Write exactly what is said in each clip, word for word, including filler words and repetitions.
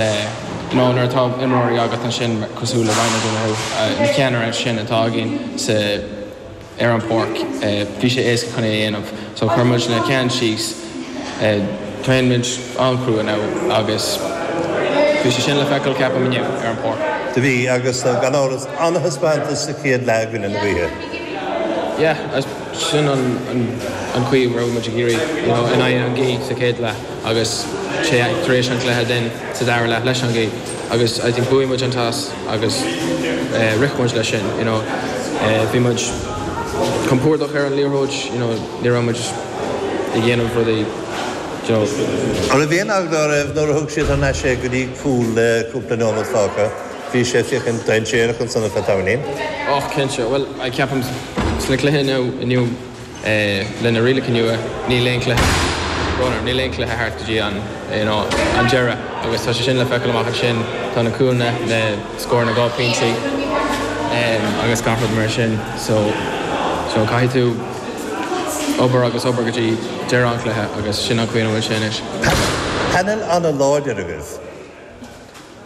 You know, nuair atá imreoirí agat ansin cosúil le Ryan O'Donoghue, na ceannairí sin atá againn sa ar an pháirc, bhí sé éasca chun é a dhéanamh. So chuir muid na ceann síos, traenáil muid an-chrua now agus bhí sé sin le feiceáil ceapaim inniu ar an pháirc. Do bhí agus gan amhras an-taispeántas sa chéad leath i gcoinne na gaoithe. Yeah, sin an an chaoi a raibh muid ag iarraidh you know, in aghaidh an ghaoth sa chéad leath agus sé tar éis an cluiche den sa dara leath leis an ghaoth agus I think bhuaigh muid an toss agus uh, rith muid leis sin you know, uh, bhí muid compordach ar an liathróid you know, ní raibh muid ag dhéanamh rudaí you know, An raibh aon eagla oraibh nuair a thug siad an sé go dtí cúl le cúpla nóiméad fágtha, bhí sé féachaint dainséarach ansan ar feadh tamaillín. Och cinnte, well I ceapaim sna cluichí inniu inniu eh, lena rialacha nua níl aon cluiche níl aon cluiche thart go dtí an you know, an deireadh agus tá sé sin le feiceáil amach ansin tá na cúlanna na scór na dhá pointí um, agus gach rud mar sin so so caithfidh tú obair agus obair go dtí deireadh an cluiche agus sin an chaoi bhfuil sé anois. Painéal an-láidir agaibh.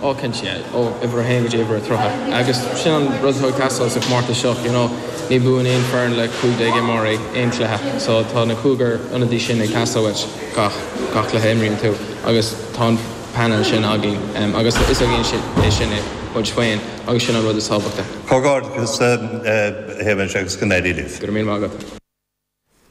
Ó cinnte ó uimhir a haon go dtí uimhir a tríocha. Agus sin an rud atá ag teastáil sa chomórtas seo, you know, ní bhuann aon foireann le cúig déag imreoirí aon cluiche, so tá na cúigear ionadaí sin ag teastáil uait gach gach cluiche imríonn tú agus tá an painéal sin againn um, agus is againn é sin é muid féin agus sin an rud is tábhachtaí. Comhghairdeachas Shéamais agus go n-éirí libh. Go raibh míle maith agat.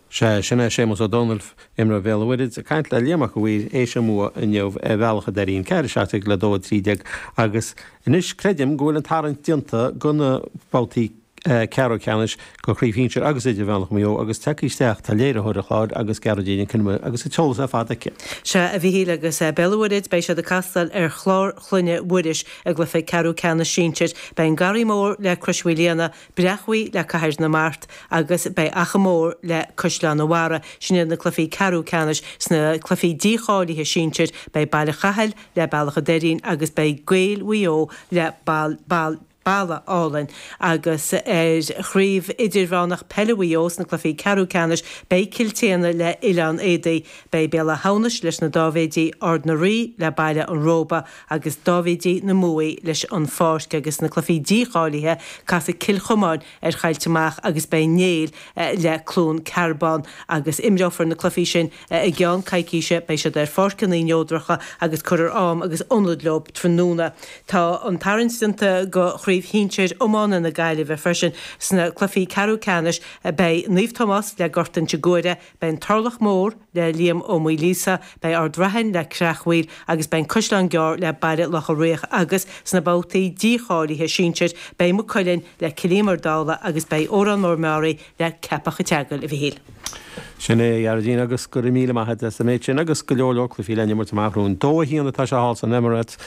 Sé sin é Séamus Ó Dónaill imreoir Bhéal an Mhuirthead ag caint le Liam Mac Uidhir éis an bhua inniu ar Bhealach an Doirín ceathair a seacht déag le dó a trí déag agus anois creidim go bhfuil an tarraingt déanta do na babhtaí ceathrú ceannais do chraobh shinsir agus idirmheánach Mhaigh Eo agus tagtha isteach tá léiritheoir an chláir agus Gearóidín Nic Con Iomaire agus an t-eolas ar fad aici. Sea a Mhíchíl agus Béal an Mhuirthead beidh siad ag castáil ar Chlár Chloinne Mhuiris i gcluiche ceathrú ceannais sinsir. Beidh an Garraí Mór le Crois Mhaoilíona, Breac Bhuí le Cathair na Mart agus beidh Achadh Mór le Caisleán an Bharraigh. Sin iad na cluichí ceathrú ceannais sna cluichí dícháilithe sinsir, beidh Baile Chathail le Bealach an Doirín agus beidh Gaeil Mhaigh Eo le Bal Bal Balla Álainn agus ar chraobh idirmheánach peile Mhaigh Eo sna cluichí ceathrú ceannais beidh Cill tSéadhna le Oileán Éadaí, beidh Béal Átha hAmhnais leis na Dáibhéidí Ard na Rí le Baile an Róba agus Dáibhéidí na Muaidh leis an Pháirc agus na cluichí dícháilithe casfaidh Cill Chomáin ar Choillte Mach agus beidh Néill le Cluain Cearbán agus imreofar na cluichí sin i gceann coicíse beidh siad ar pháirceanna neodracha agus cuirfear am agus ionad leo tráthnóna. Tá an tarraingt déanta do chraobh shinsir iomána na Gaillimhe freisin sna cluichí ceathrú ceannais beidh Naomh Tomás le Gort Inse Guaire, beidh an Turlach Mór le Liam Ó Maoilíosa, beidh Ard Raithin le Creachmhaoil agus beidh an Caisleán Gearr le Baile Locha Riach agus sna babhtaí dícháilithe sinsir beidh Maigh Cuilinn le Cill Íomair Dála agus beidh Órán Mór Meáraí le Ceapach an tSeagail a Mhíchíl. Sin é a Ghearóidín agus go raibh míle maith agat as an méid sin agus go leor leor cluichí le n-imirt amach romhainn. Dó a haon atá sé thall san Emirates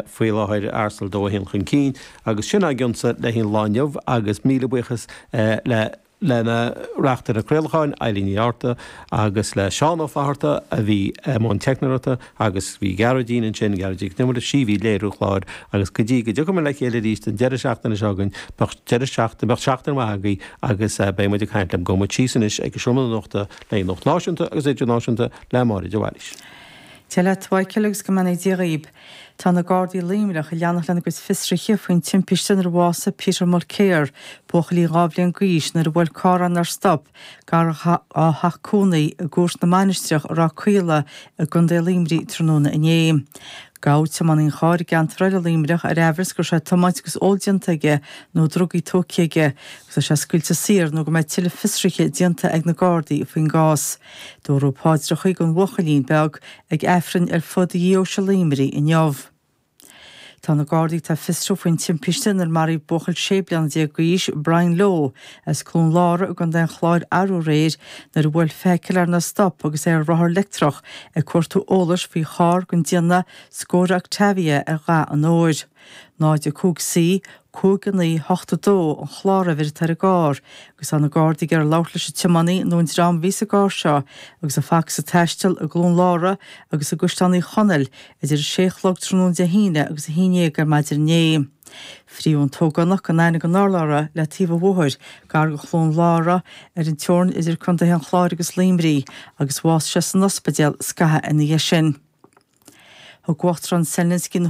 faoi láthair Arsenal dó a haon chun cinn agus sin agaibhse le haghaidh an lá inniu agus míle buíochas le lena reachtaire craolacháin Eileen Ní Fhátharta agus le Seán Ó Fátharta a bhí i mbun teicneoireachta agus bhí Gearóidín ansin Gearóidín Nic Con Iomaire sí a bhí ag léiriú an chláir agus go dtí go dtiocfaidh muid le chéile arís an deireadh seachtaine seo chugainn beidh deireadh seachtaine beidh seachtain mhaith agaibh agus beidh muid ag caint libh gabhfaidh muid síos anois ag an seomra nuachta le nuacht náisiúnta agus idirnáisiúnta le Máire de Bhailís. Dia leat a Mhichíl agus go mbeannaí Dia dhaoib. Tá na Gardaí Luimneach ag leanacht lena gcuid fiosruithe faoin timpiste inar bhásaigh Peter Mulcair, buachaillín dhá bhliain d'aois nuair a bhuail carr nár stop gar dá theach cónaí i gCúirt na Mainistreach i Ráth Caola i gContae Luimnigh tráthnóna inné. Gabhadh tiománaí an chairr i gceantar eile Luimneach ar aimhreas go raibh sé ag tiomáint agus ól déanta aige nó drugaí tógtha aige agus tá sé scaoilte saor nó go mbeidh tuilleadh fiosruithe déanta ag na Gardaí faoin gcás. Dúradh paidreacha don bhuachaillín beag ag Aifreann ar fud dheoise Luimnigh inniu. Tá na Gardaí ag fiosrú faoin timpiste inar maraíodh buachaill sé bliana déag d'aois Brian Lowe as Cluain Lára i gContae an Chláir arú aréir nuair a bhuail feithicil nár stop agus é ar rothar leictreach ag cuartú eolais faoi charr den déanamh Skoda Octavia ar dhath an óir. Náid a cúig C, cúig a naoi hocht a dó an chláruimhir atá ar an gcarr, agus tá na Gardaí ag iarraidh labhairt leis an tiománaí nó an dream a bhí sa gcarr seo agus a facthas ag taisteal i gCluain Lára agus i gCaisleán Uí Chonaill idir a sé a chlog tráthnóna Dé hAoine agus a haon déag ar maidin inné. Frítheadh an t-ógánach gan aithne gan urlabhra le taobh an bhóthair gar do Chluain Lára ar an teorainn idir Contaetha an Chláir agus Luimnigh agus bhásaigh sé san ospidéal scaitheamh ina dhiaidh sin. Thug Uachtarán Zelensky na